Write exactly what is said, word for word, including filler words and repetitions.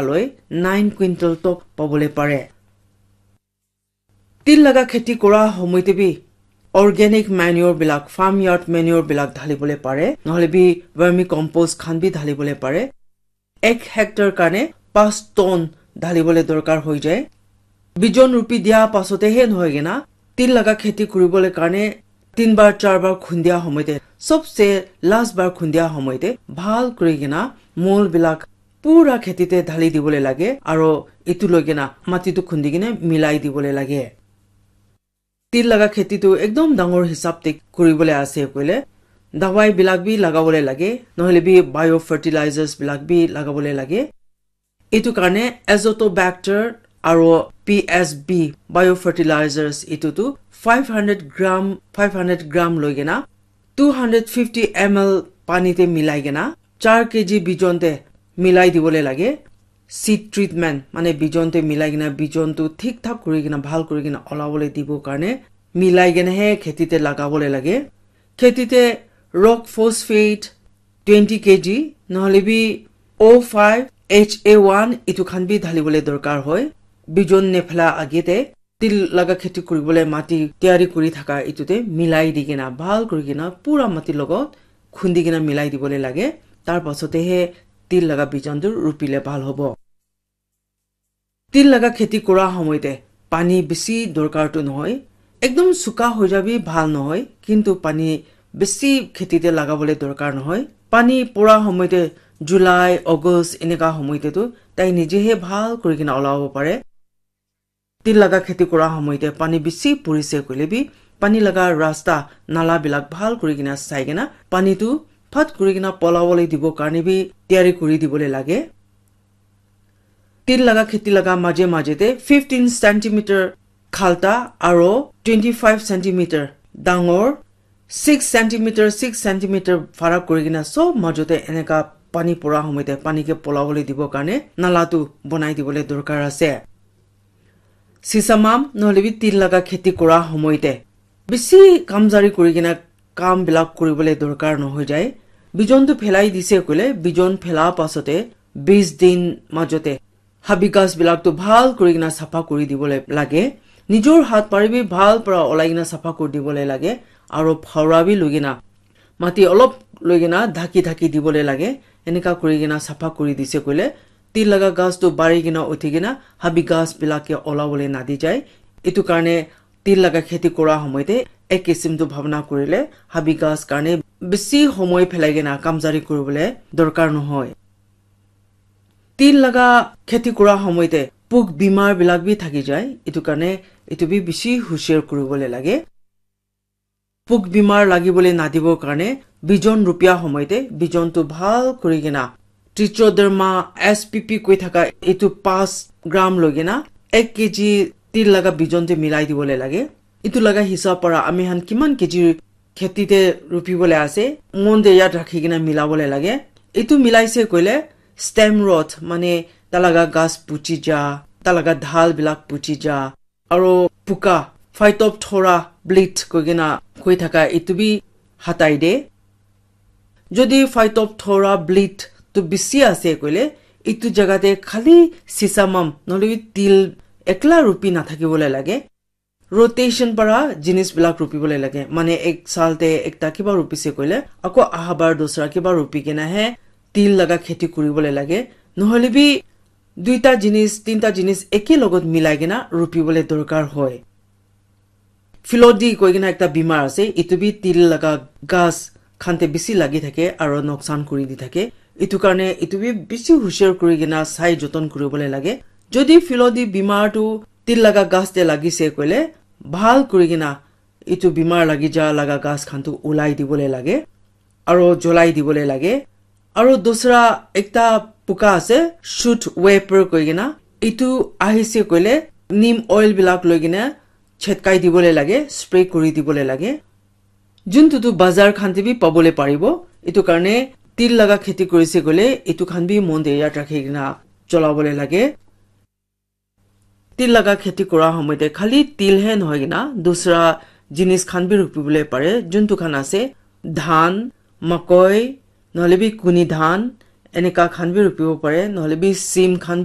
loi nine quintal tok pabole pare. Til laga kheti kora homoite bi organic manure bilak, farm yard manure bilak dhalibole pare, nohole bi vermicompost khan bi dhalibole pare. Ek hectare karne pas ton dhalibole dorkar hoi jai. Bijon rupi dia pasote he nohoi kena, til laga kheti kuribole karne tin bar, char bar khundia homoite, sobse last bar khundia homoite, bhal kuri kena mol bilak pura kheti te dhali dibole lage, aro etu loi kena mati tu khundi kena milai dibole lage. Til laga kheti tu ekdom dangor hisab te kuribole ase koile, dawai bilak bi lagabole lage, nohole bi biofertilizers bilak bi lagabole lage. Etu karne Azotobacter aro P S B biofertilizers etu tu five hundred gram, five hundred gram loi kena two hundred fifty M L pani te milai kena char K G bijon te milai dibole lage. Seed treatment, mane bijon te milai kena, bijon tu thik thak kuri kena, bhal kuri kena olabole dibo karne milai kena he kheti te lagabole lage. Kheti te rock phosphate twenty K G, nohole bi O five H A one, etu khan bi dhalibole dorkar hoi. Bijon nephela age te til laga kheti kuribole mati tiyari kuri thaka etu te milai di kena, bhal kuri kena, pura mati logot khundi kena milai dibole lage. Tar pasote he til laga bijon tu rupile bhal hobo. Til laga kheti kora homoite pani bisi dorkar tu nohoi, ekdom suka hoi jabi bhal nohoi, kintu pani bisi kheti te lagabole dorkar nohoi. Pani pora homoite July, August eneka homoite tu tai nije he bhal kuri kena olabo pare. Til laga kheti kora homoite pani bisi purise koile bi pani laga rasta nala bilak bhal kuri kena sai kena pani tu phat kuri kena polabole dibo karne bi tiyari kuri dibole lage. Til laga kheti laga maje maje te fifteen centimeter khalta aro twenty five centimeter dangor, six centimeter, six centimeter farak kuri kena sob majo te eneka pani pora homoite pani ke polabole dibo karne nala tu bonai dibole dorkar ase. Sisamam nohole bi til laga kheti kora homoite bisi kamjari kuri kena kam bilak kuribole dorkar nohoi jai. Bijon tu phelai dise koile, bijon phela pasote bis din majote habi ghas bilak tu bhal kuri kena sapha kuri dibole lage. Nijor hat pari bi bhal para olai kena sapha kuri dibole lage. Aro phaura bi loi kena mati olop loi kena dhaki dhaki dibole lage. Eneka kuri kena sapha kuri dise koile, til laga ghas tu bari kena uthi kena habi ghas bilak ke olabole nadi jai. Etu karne til laga kheti kora homoite ek kisim tu bhabna kurile habi ghas karne bisi homoi phelai kena kamjari kuribole dorkar nohoi. Til laga kheti kora homoite puk bimar bilak bi thaki jai. Etu karne etu bi bisi hushiar kuribole lage. Puk bimar lagibole nadibo karne bijon rupia homoite bijon tu bhal kuri kena Trichoderma S P P koi thaka etu pas gram loi kena ek K G til laga bijon te milai dibole lage. Etu laga hisab para ami khan kiman K G kheti te rupibole ase, mon te yad rakhi kena milabole lage. Etu milaise koile stem rot, mane ta laga ghas puchi ja, ta laga dhal bilak puchi ja, aro puka, Phytophthora blight koi kena koi thaka etu bi hatai de. Jodi Phytophthora blight tu bisi ase koile, etu jaga te khali sisamam nohole bi til ekla rupi nathakibole lage. Rotation para jinis bilak rupibole lage. Mane ek sal te ekta kiba rupise koile, ako ahabar dusra kiba rupi kena he til laga kheti kuribole lage. Nohole bi duita jinis, tinta jinis eke logot milai kena rupibole dorkar hoi. Phyllodes koi kena ekta bimar ase, etu bi til laga ghas khan te bisi lagi thake aro noksan kuri di thake. Etu karne etu bi bisi hushiar kuri kena sai joton kuribole lage. Jodi phyllodes bimar tu til laga ghas te lagise koile, bhal kuri kena etu bimar lagi ja laga ghas khan tu ulai dibole lage. Aro jolai dibole lage. Aro dusra ekta puka ase, shoot wiper koi kena. Etu ahise koile neem oil bilak loi kena chetkai dibole lage, spray kuri dibole lage. Juntu tu bazar khan te bi pabole paribo. Etu karne til laga kheti kurise koile, etu khan bi mon te yad rakhi kena cholabole lage. Til laga kheti kora homoite khali til he nohoi kena dusra jinis khan bi rupibole pare, juntu khan ase dhan, makoi, nohole bi kuni dhan, enika khan bi rukibo pare, nohoile bi sim khan bi